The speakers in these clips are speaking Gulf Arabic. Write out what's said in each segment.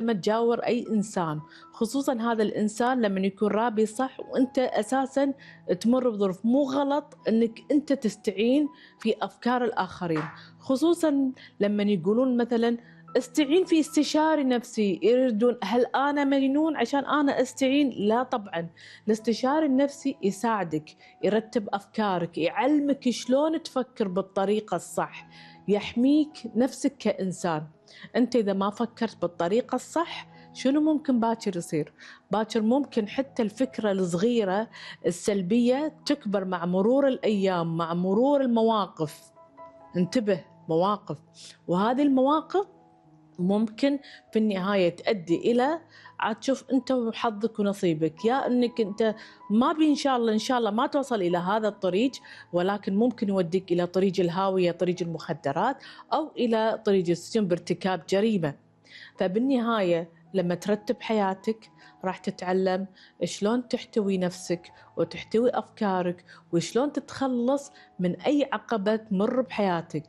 لمّا تجاور أي إنسان، خصوصًا هذا الإنسان لمّن يكون رابي صح وأنت أساسًا تمُر بظروف، مو غلط إنك أنت تستعين في أفكار الآخرين، خصوصًا لمّن يقولون مثلًا استعين في استشاري نفسي، يردون هل أنا مجنون عشان أنا أستعين؟ لا طبعًا، الاستشاري النفسي يساعدك، يرتب أفكارك، يعلمك شلون تفكر بالطريقة الصح، يحميك نفسك كإنسان. أنت إذا ما فكرت بالطريقة الصح شنو ممكن باكر يصير؟ باكر ممكن حتى الفكرة الصغيرة السلبية تكبر مع مرور الأيام، مع مرور المواقف. انتبه، مواقف، وهذه المواقف ممكن في النهاية تؤدي إلى عاد تشوف أنت وحظك ونصيبك، يا إنك أنت ما بي إن شاء الله ما توصل إلى هذا الطريق، ولكن ممكن يوديك إلى طريق الهاوية، طريق المخدرات، أو إلى طريق السجن بارتكاب جريمة. فبالنهاية لما ترتب حياتك راح تتعلم شلون تحتوي نفسك وتحتوي أفكارك وشلون تتخلص من أي عقبة تمر بحياتك.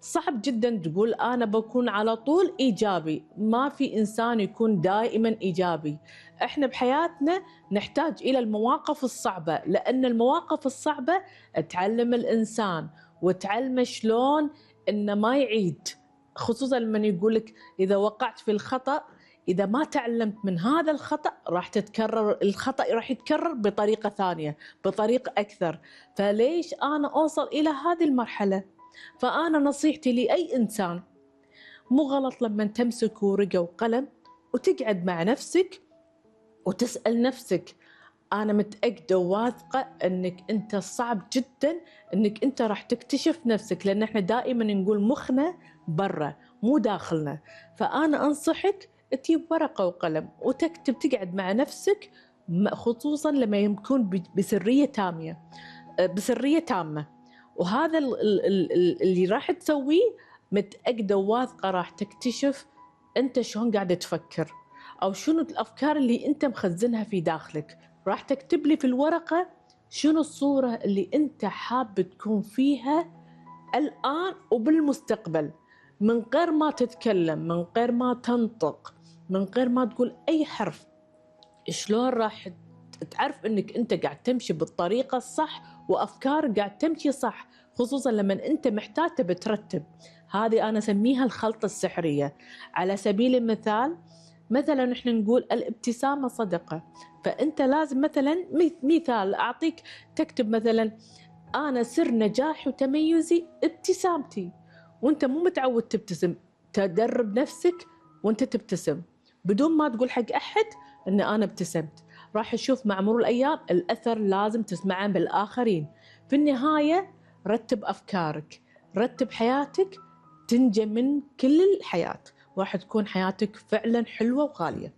صعب جدا تقول أنا بكون على طول إيجابي، ما في إنسان يكون دائما إيجابي. إحنا بحياتنا نحتاج إلى المواقف الصعبة، لأن المواقف الصعبة تعلم الإنسان وتعلمه شلون إنه ما يعيد، خصوصا لما يقولك إذا وقعت في الخطأ إذا ما تعلمت من هذا الخطأ راح تتكرر الخطأ، راح يتكرر بطريقة ثانية، بطريقة أكثر. فليش أنا أوصل إلى هذه المرحلة؟ فأنا نصيحتي لأي إنسان، مو غلط لما تمسك ورقة وقلم وتقعد مع نفسك وتسأل نفسك، أنا متأكدة وواثقة أنك أنت صعب جدا أنك أنت راح تكتشف نفسك، لأن احنا دائما نقول مخنا برا مو داخلنا. فأنا أنصحك تجيب ورقة وقلم وتكتب، تقعد مع نفسك، خصوصا لما يكون بسرية تامة. وهذا اللي راح تسويه متأكدة وواثقة راح تكتشف أنت شلون قاعد تفكر، أو شنو الأفكار اللي أنت مخزنها في داخلك. راح تكتب لي في الورقة شنو الصورة اللي أنت حاب تكون فيها الآن وبالمستقبل، من غير ما تتكلم، من غير ما تنطق، من غير ما تقول أي حرف. شلون راح تعرف أنك أنت قاعد تمشي بالطريقة الصح وأفكار قاعد تمشي صح، خصوصا لما أنت محتاج تبي ترتب. هذه أنا أسميها الخلطة السحرية. على سبيل المثال، مثلا احنا نقول الابتسامة صدقة، فأنت لازم مثلا مثال أعطيك، تكتب مثلا أنا سر نجاحي وتميزي ابتسامتي، وأنت مو متعود تبتسم، تدرب نفسك وأنت تبتسم بدون ما تقول حق أحد أن أنا ابتسمت. راح تشوف مع مرور الأيام الأثر لازم تسمعه بالآخرين. في النهاية رتب أفكارك، رتب حياتك، تنجى من كل الحياة، راح تكون حياتك فعلا حلوة وغالية.